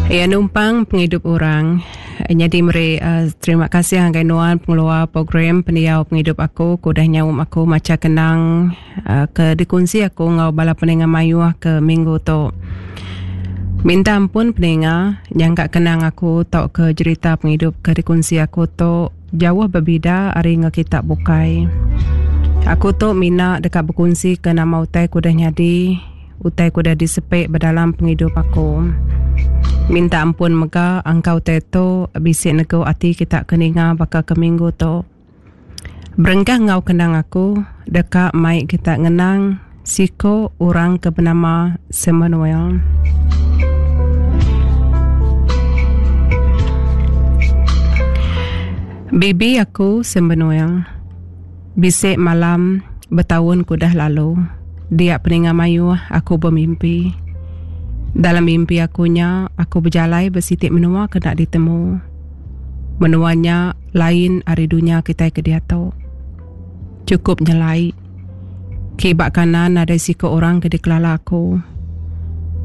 Iya numpang pengidup orang. Nyadi meri terima kasih ngagai nuan pengeluar program pendiau pengidup aku ke udah nyaum aku macha kenang ke dikunsi aku enggau bala peninga mayuh ke minggu tu. Minta ampun peninga nyangka kenang aku tauka jerita pengidup ke dikunsi aku tu jauh bebida ari enggau kita bukai. Aku tu mina deka bekunsika nama utai ke udah nyadi. Utai ke udah disepi ba dalam pengidup aku. Minta ampun mega angka utai tu bisi negu ati kita ke ninga baka ke minggu tu. Berengkah enggau kenang aku deka mai kita ngenang siku orang ke benama Samuel. Bibi aku Samuel. Bisi malam betaun ke udah lalu, dia peninga mayuh aku bemimpi. Dalam mimpi aku nya, aku bejalai ba siti menua ke enda ditemu. Menua nya lain ari dunya kitai ke diatu. Chukup nyelai. Kiba kanan nadai siku orang ke dikelala aku.